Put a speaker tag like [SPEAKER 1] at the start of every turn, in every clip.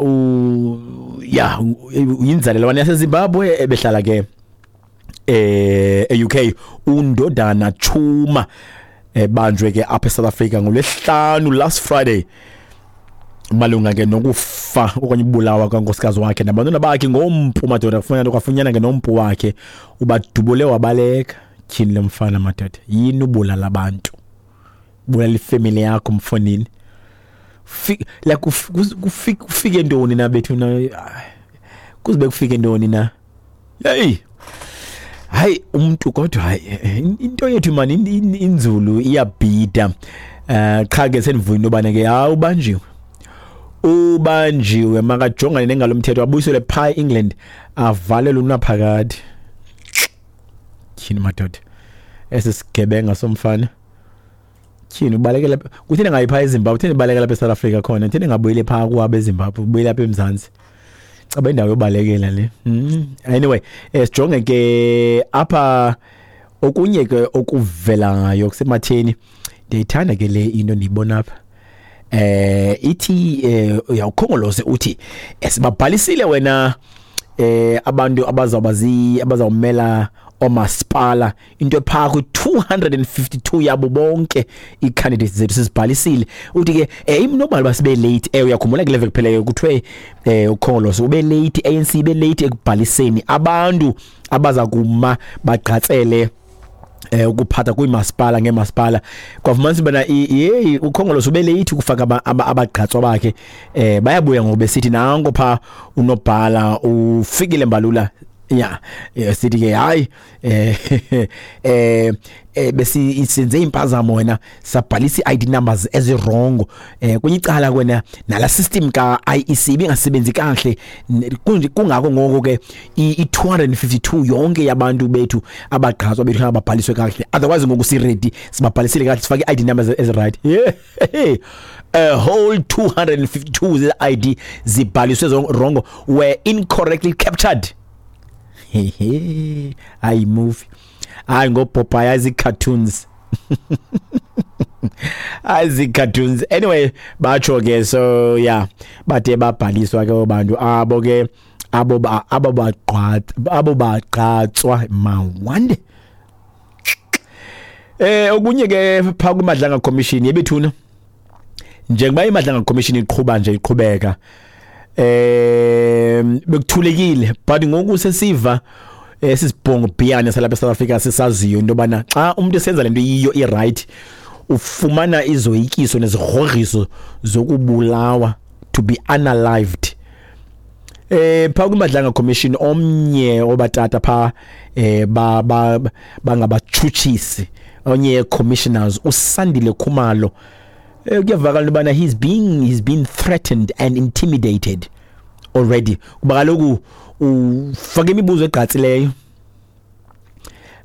[SPEAKER 1] U ya uyinzalelwane yaseZimbabwe ebehlala ke e-UK, uNdodana Chuma, ebanjwe ke apha eSouth Africa ngolwesihlanu, last Friday, malunga ke nokufa okanye ubulawa kankosikazi wakhe nabantwana bakhe ngompu madoda. Kufuneka kwafunyanwa ke nompu wakhe, ubadubule wabaleka. Tyhini lo mfana madoda, yini ubulala abantu, bulala ifemeli yakho mfonini? Like kufike ntoni na bethu na? Kuzibe kufike ntoni na? Hey, hayi umuntu kodwa, hayi into yethu mani inzulu, iyabhida. Qha ke sendivuya into yobana ke hayi, ubanjiwe, ubanjiwe, makajongane nengalo mthetho, abuyiselwe phaa e-England, avalelwe unaphakade. Tyhini madoda, esi sigebenga somfana, tyhini, ubalekela kutheni ngayi phaa eZimbabwe? Kutheni ibalekela apha eSouth Africa khona? Kutheni ngabuyele phaa kwabo eZimbabwe, ubuyele apha eMzantsi? Caba indawo yobalekela le. Anyway, sijonge ke apha okunye ke okuvelayo kusematheni. Ndiyayithanda ke le into ndiyibona apha. Ithi uyawukhongolose uthi sibabhalisile wena abantu abazawuba abazawumela omasipala, into ephaa kwi-252 yabo bonke ii-candidates zethu sizibhalisile. Uthi ke imnobala uba sibe late. Uyakhumbula kule veki kupheleyo kuthiwe ukhongolose ube late, ANC ibe late ekubhaliseni abantu abaza kuma bagqatsele ukuphatha kwiimasipala ngeemasipala. Kwafumanisa ubana yeyi, ukhongolose ube late ukufaka abagqatswa bakhe. Bayabuya ngoku besithi nanko phaa unobhala uFikile Mbalula ya, sithi ke hayi, besi senze impazamo wena, sabhalisa i-ID numbers ezi-wrong. Kwenye icala kwena nala system ka IEC ibingasebenzi kahle. Kungako ngoko ke i-252 yonke yabantu bethu, abagqatswa bethu, ababhaliswe kakuhle. Otherwise ngoku si ready, sibabhalisile kahle, sifake i-ID numbers ezi right. Yeah, a whole 252 ze-ID zibhaliswe wrong, were incorrectly captured. Hehe, hayi movie, hayi ngoPopeye, azi cartoons, azi cartoons. Anyway, batsho ke. So yeah, bade babhaliswa ke abantu abo ke, abo bagqatswa mawande. Okunye ke pha kwiMadlanga Commission yebethuna, njengoba iMadlanga Commission iqhuba nje, iqhubeka, bekuthulekile, but ngoku sesiva esisibhongo bhiyane salapha eSouth Africa sisaziyo into yobana xa umuntu esenza lento yiyo i-right, ufumana izoyikiso nezigrogriso zokubulawa, to be unalived. Pha kwiMadlanga Commission, omnye obatata pha ba bangabatshutshisi, onye commissioners, uSandile Khumalo, kuyavakala into yobana he's been threatened and intimidated already, kuba kaloku ufaka imibuzo egqatsileyo,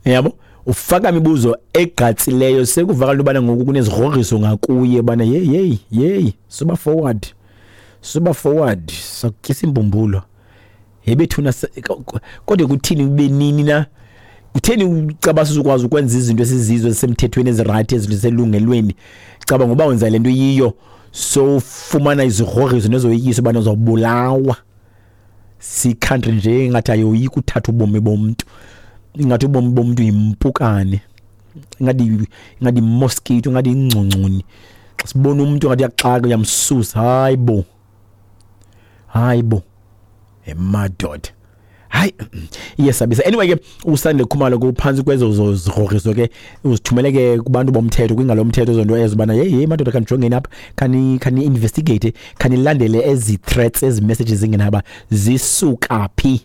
[SPEAKER 1] yabo, ufaka imibuzo egqatsileyo. Sekuvakala into yobana ngoku kunezigrogriso ngakuye bana hey, hey, hey, suba forward, suba forward, sakutyisa imbumbulo yebethuna. Kodwa kuthini, ube nini na? Kutheni ucaba sizokwazi ukwenza izinto esizizo ezisemthethweni, ezi-right, ezinto eziselungelweni? Caba ngoba wenza le nto yiyo, so ufumana izigrogriso nezoyikiso ubana uzawubulawa. Si-country nje ingathi ayoyika uthatha ubomi bomntu, ingathi ubomi bomntu yimpukane, ingathi mosquito, ingathi ingcongconi. Xa sibona umuntu ngathi uyaxaka, uyamsusa. Hayi bo, hayi bo, emadoda, hayi, iyesabisa. Anyway ke uSandile Khumalo kuphantsi kwezo zigrogriso ke, uzithumele ke kubantu bomthetho, kwingalo yomthetho, zonto ezo bana hey, hey madoda, khanijongeni apha, khani investigate, khanilandele ezi threats, ezi messages zingenaba zisuka phi,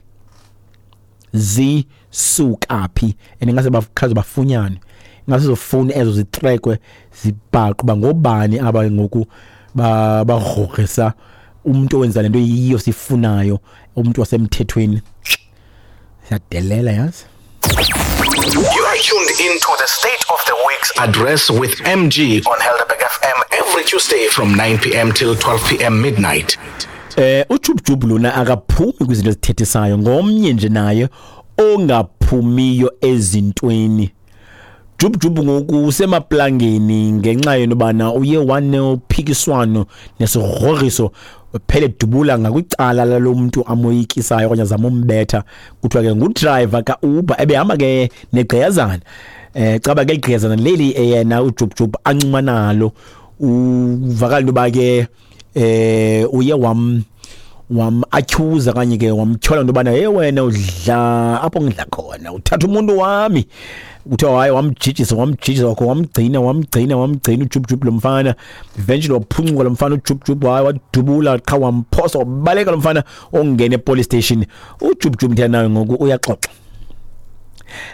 [SPEAKER 1] zisuka phi. And ingase bakhaze bafunyane, ingase zofuni ezo zitrekwe, zibhaqwe uba ngobani aba ngoku bagrogrisa umuntu owenza lento yiyo sifunayo, umuntu wasemthethweni. Siyadelela yazi.
[SPEAKER 2] You are tuned into the State of the Week's Address with MG on Helderberg FM every Tuesday from 9 p.m. till 12 p.m. midnight.
[SPEAKER 1] UJubjub lona akaphumi kwizinto ezithethisayo, ngomnye nje naye ongaphumiyo ezintweni. Jub ngoku usemaplangeni ngenxa yentobana uye wanophikiswano nesigrogriso phele dubula ngakwicala lalo mntu amoyikisayo okanye azama umbetha. Kuthiwa ke ngudrayiva kaUber ebehamba ke negqiyazana, caba ke ligqiyazana leli yena uJubjub ancuma nalo. Uvakala into yoba ke uye wam atyhuza okanye ke wamtyhola into yobana, hey wena udla apho ngidla khona, uthatha umuntu wami. Kuthiwa hayi wamjijisa wakho, wamgcina uJubjub lo mfana. Eventually waphuncuka lo mfana uJubjub, hayi wadubula qha wamphosa wabaleka lo mfana ongena epolice station. uJubjub mthana ngoku uyaxoxa,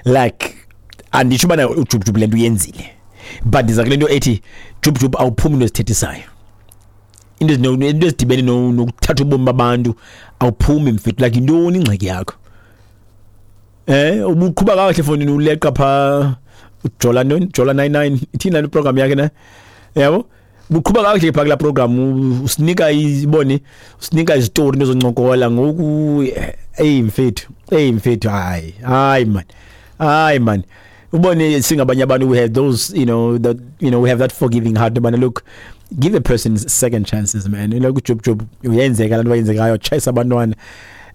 [SPEAKER 1] like anditsho ubana uJubjub le nto uyenzile, but ndiza kule nto ethi Jubjub awuphumi into ezithethisayo, into ezidibene nokuthatha ubomi babantu awuphumi mfethu. Like yintoni ingxaki yakho? Ubuqhuba kakuhle fondini, uleqa pha ujola ntoni, Jola 99 ithini laa program yakhe na, yabo? Ubuqhuba kakuhle pha kulaa program, usinika ibone, usinika izitori into zoncokola ngoku. Eyi mfethu, hayi man ubone singabanye abantu, we have those, you know, that, you know, we have that forgiving heart. But look, give a person second chances, man. You know, Jub uyenzeka lanto bayenzekayo, chase abantwana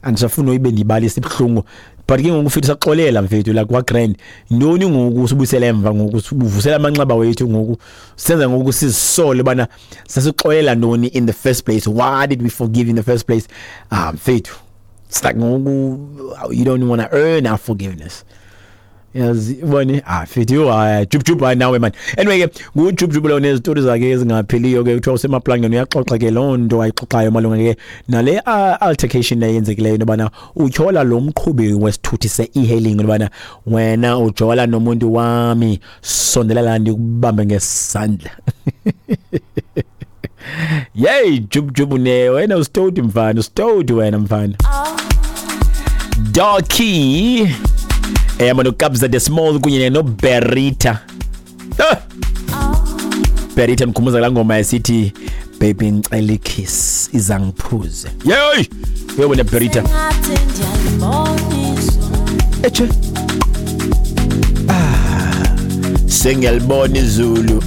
[SPEAKER 1] andisafuna uyibe ndibalisa ibuhlungu, but ke ngoku mfethu saxolela mfethu, like wa grand ntoni ngoku sibuyisele emva ngoku, sibuvusela amanxeba wethu ngoku, senza ngoku sizisole bana sasixolela ntoni in the first place, why did we forgive in the first place? Mfethu, it's like ngoku you don't want to earn our forgiveness. Yazi ubone mfethu, hayi Jub hayi nawe man. Anyway ke nguJub lo nezitori zakhe ezingapheliyo ke, kuthiwa usemaplangeni uyaxoxa ke loo nto ayixoxayo malunga ke nale altercation eyenzekileyo into yobana utyhola lo mqhubi wesithuthi se-e-hailing into yobana wena ujola nomuntu wami, sondela la ndikubambe ngesandla. Yey Jub ne wena usitoti mfana, usitoti wena mfana. Darky eyama noKabza De Small kunye noBerita. Berita mkhumbuza la ngoma esithi baby ngicela ikiss izangiphuze. Yey wena Berita. Eche. Sengiyalibona izulu.